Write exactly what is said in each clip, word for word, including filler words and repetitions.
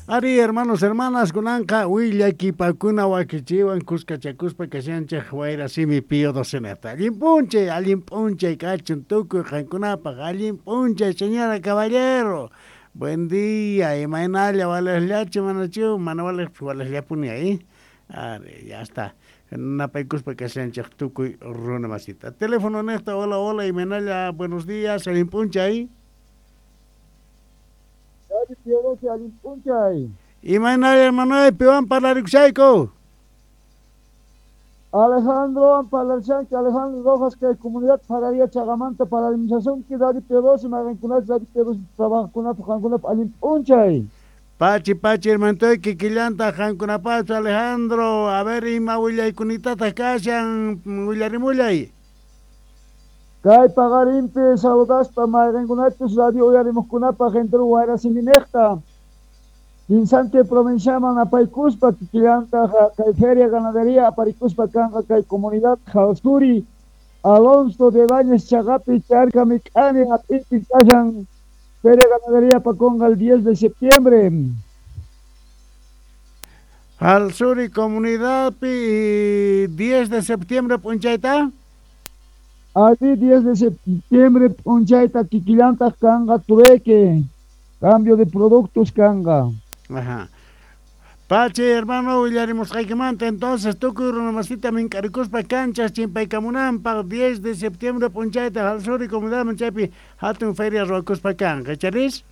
Ari, hermanos, hermanas, kunanqa willakipakuna wakichiwan kuskachakuspa kashanchej wayra simi Pío docenata. Allin p'unchay, allin p'unchay kachun tukuy qankunapaq, allin p'unchay, señora caballero. Buen día, imaynalla walejllachu manachu, mana walejpis walejllapuni ahí. Ari, ya está. Napaykuspa kashanchej tukuy runa masita. Teléfono nejta, hola, hola, imaynalla, buenos días, allin p'unchay. Allin p'unchay. Imaynalla, hermano, piwan parlarikushayku. Alejandro parlarshanki, Alejandro Rojas, kay comunidad Fararía Chagamanta paralizasunki, Radio Pio doce, mayqinkunachus Radio Pio doce trabajaqkunapaq qankunapaq allin p'unchay. Pachi, pachi, hermanoy, kikillanta qankunapachu, Alejandro. A ver, ima willaykunitataj kashan, willarimullay. Kay paqarinpi saludaspa mayqinkunachus radio uyarimuqkunapaq entero wayra siminejta. Kinsante provinciaman apaykuspa kikillanta kay feria ganadería aparikuspa kanqa kay comunidad Jalsuri Alonso de Bañez Chagapi Charca Mik'ani hap'ipi kashan feria ganadería apakonqa el diez de septiembre. Jalsuri comunidadpi diez de septiembre p'unchayta. Allí diez de septiembre p'unchayta kikillantaq kanqa trueque, cambio de productos kanqa. Ajá. Pachi, hermano, willarimusqaykimanta entonces tukuy runamasita mink'arikuspa canchas chimpaykamunanpaq diez de septiembre p'unchayta Jalsuri comunidadman chaypi hatun feria ruwakuspa kanqa, charis?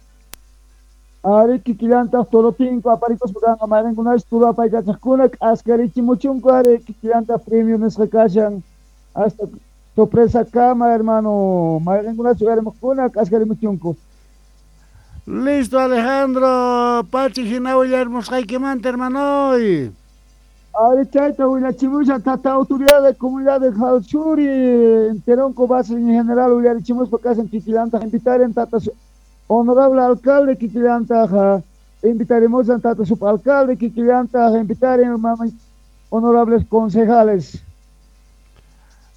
Ari kikillantaq torotinko aparikuspa kanqa mayqinkunachus turu apaykachaqkuna k'askarichimuchunku ari kikillantaq premio nisqa kashan hasta sorpresa kama, hermano, mayqinkunachus uyarimuqkuna k'askarimuchunku. Listo, Alejandro. Pachi hina willarimusqaykimanta, hermanoy. Ari chayta willachimushan tata autoridad de comunidad de Jalsuri, enteronco base en general willarichimuspa kashan kikillantaq invitaren tata honorable alcalde kikillantaq invitaremos a tata subalcalde kikillantaq invitaren honorables concejales.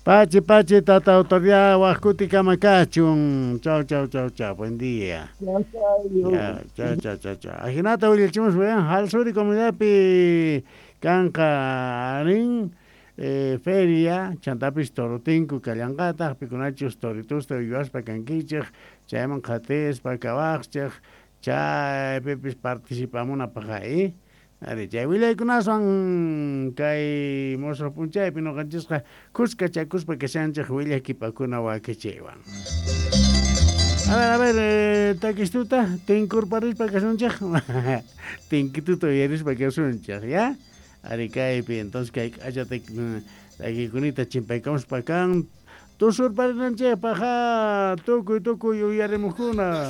Pachi, pachi, tata autoridad, wajkuti kamakachun. Chau, chau, chau, chau. Buen día. Chau, chau, chau, chau, chau. Ajinata willachimus, weón, Jalsuri comunidadpi kanqa rin eh, feria, chantapis torotinku kallanqataq, pikunachus toritusta uywaspa kankichej, chayman qatispa kawaqchej, chaypipis participamunapaq ahí. Ari, chay willaykunaswan kay musuq p'unchaypi ñuqanchisqa kuskachakuspa kashanchej willakipakuna wakichiywan. A ver, a ver, eh, takistuta tinkurparispa kasunchej, tinkituta uyarispa kasunchej, ya? Ari kaypi, entonces kay k'acha takikunita chimpaykamuspa kan tusurparinanchejpaq, ja, tukuy tukuy uyarimuqkuna.